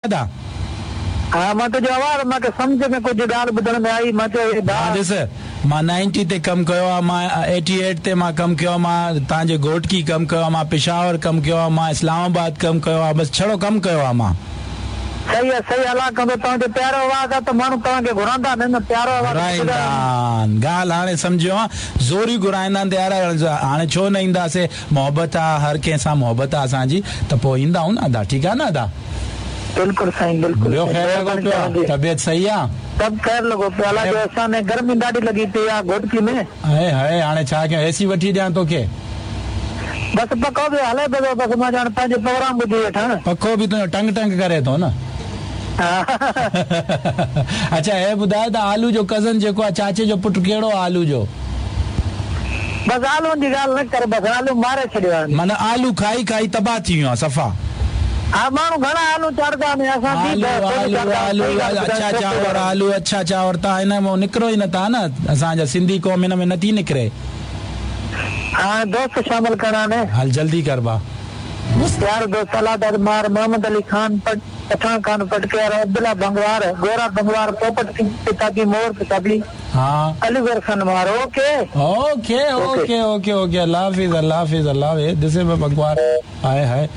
ادا. ها مان تنهنجو آواز مان کي سمجهه ۾ ڪجهه ڳالهه ٻڌڻ ۾ آئي مان چيو هي ڀاء. مان ڏس مان نائنٽي تي ڪم ڪيو آ مان ايٽي ايٽ تي مان ڪم ڪيو آ مان تان جي گهوٽڪي ڪم ڪيو آ مان پشاور ڪم ڪيو آ مان اسلام آباد ڪم ڪيو آ بس ڇڙو ڪم ڪيو آ مان. صحيح آ صحيح الله ڪندو توهان جو پيارو آواز آ ته ماڻهو توهان کي گهرائيندا نه نه پيارو آواز گهرائيندا آهن ڳالهه هاڻي سمجهيو آ زوري گهرائيندا آهن ته يار هاڻي ڇو نه اينداسي محبت آ هر ڪنهن سان محبت آ اسان جي ته پوء ايندا آهيون نه ادا ٺيڪ آ نه ادا. بلڪل سائين بلڪل ٻيو خير لڳو مهرباني پيو آ توهان جي. طبيعت صحيح آ. سڀ خير لڳو پيو الله جو احسان آهي گرمي ڏاڍي لڳي پئي آ گهوٽڪي ۾. هاء هاء هاڻي ڇا ڪيان اي سي وٺي ڏيان توکي. بس پکو به هلي پيو ٿو بس مان ڄڻ پنهنجو پروگرام ٻڌي ويٺان. پکو به تنهنجو ٽنگ ٽنگ ڪري ٿو نه. اڇا هي ٻڌاء ته آلو جو ڪزن جيڪو آ چاچي جو پٽ ڪهڙو آ آلو جو. بس آلون جي ڳالهه نه ڪر بس آلو ماري ڇڏيو آهن. معنيٰ آلو کائي کائي تباهه ٿي ويو آ صفا. ها ماڻهو گهڻا آلو چاڙهدا آهن اسان به آلو ڪونه آلو چاڙهدا آهيون آلو صحيح ڳالهه اڇا ٻڌايو چانور آلو اڇا چانور تان هن مان نڪرو ئي نه ٿا نه اسان جا سنڌي قوم هن ۾ نه ٿي نڪري. هاڻي دوست شامل ڪرڻا آهن. هل جلدي ڪر ڀا. پيارو دوست الله داد مار محمد علي خان پٺاڻ خان پٽڪيار عبدالله بنگوار گورا بنگوار پوپٽ پتافي مور پتافي ها. علي گور خان مار okay. Okay okay okay okay الله حافظ الله حافظ الله حافظ دس از بنگوار هاء هاء.